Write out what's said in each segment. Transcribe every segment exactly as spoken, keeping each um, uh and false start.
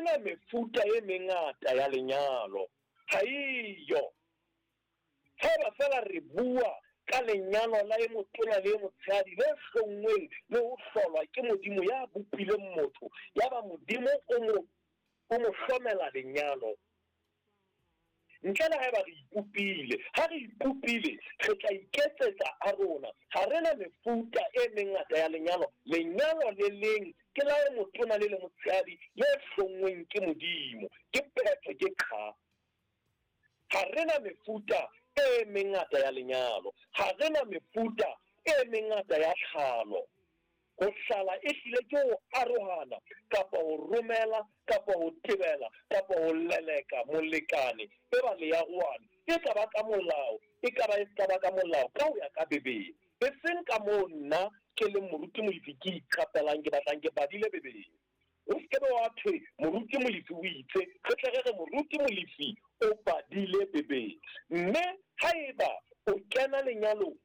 na mefuta e mengata ya lenyalo, ha eyo. Haeba feela re bua ka lenyalo la e motona le e motshehadi le hlonngweng le ho hlolwa ke Modimo ya bopileng motho, yaba Modimo o mo o mo hlomela lenyalo. Ntle le haeba re ipopile, ha re ipopile re tla iketsetsa a rona. Ha re na mefuta e mengata ya lenyalo. Lenyalo le leng ke la e motona le le motshehadi le hlonngweng ke Modimo. Ke phetho, ke qha. Ha re na mefuta e mengata ya lenyalo. Ha re na mefuta e mengata ya tlhalo. Ho hlala e hlile ke ho arohana kapa ho romela kapa ho tebela kapa ho leleka molekane e ba le arohane. E ka ba ka molao, e ka ba e ska ba ka molao, ka ho ya ka Bibele. E seng ka moo nna ke leng Moruti Molefi ke iqapelang, ke batlang ke badile Bibele. O se ke be wa thwe Moruti Molefi o itse, re tle re re Moruti Molefi o badile Bibele. Mme haeba o kena lenyalong,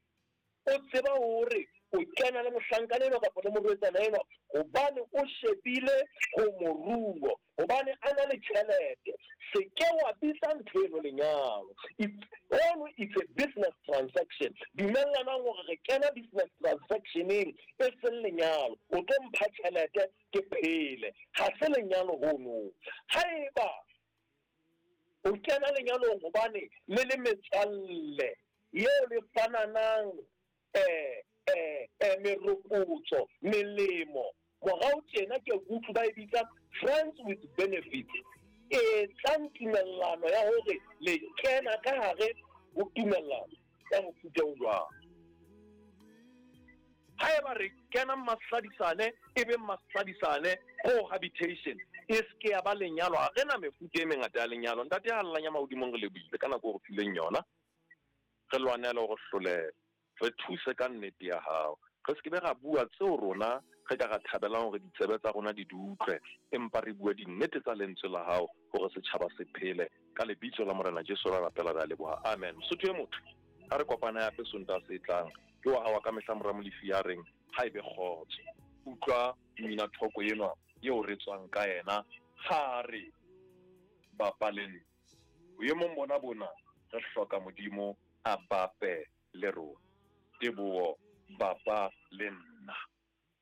o tseba hore o kena le mohlankana enwa kapa le morwetsana enwa hobane o shebile ho moruo, hobane a na le tjhelete, se ke wa bitsa ntho eno lenyalo. It's ono it's a business transaction. Dumellanang hore re kena business transactioneng e seng lenyalo. O tlo mpha tjhelete ke phele, ha se lenyalo hono. Haeba o kena lenyalong hobane le le metswalle eo le fananang eh eh eh meropotso, melemo, morao tjena ke utlwe ba e bitsa friends with benefits. Etsang tumellano ya hore le kena ka hare ho tumellano ya mofuta o jwang. Haeba re kena masadisane, e be masadisane cohabitation, e se ke ya ba lenyalo. Ha re na mefuta e mengata ya lenyalo. Ntate ya llang ya mahodimong, re lebohile ka nako o re fileng yona. Re lwanele hore hlolehe, re thuse ka nnete ya hao. Re se ke be ra bua tseo rona re ka ra thabelang hore ditsebe tsa rona di di utlwe, empa re bue dinnete tsa lentswe la hao hore setjhaba se phele. Ka lebitso la Morena Jesu ra rapela, re a leboha. Amen. Mosotho e motho, ha re kopane hape Sontaha se tlang. Ke wa hao wa ka mehla Mora Molefi ya reng ha ebe kgotso. Utlwa mmina thoko enwa eo re tswang ka yena, ha re bapaleng boemong bona bona, re hloka Modimo a bape le rona. Teboho, bapa le nna.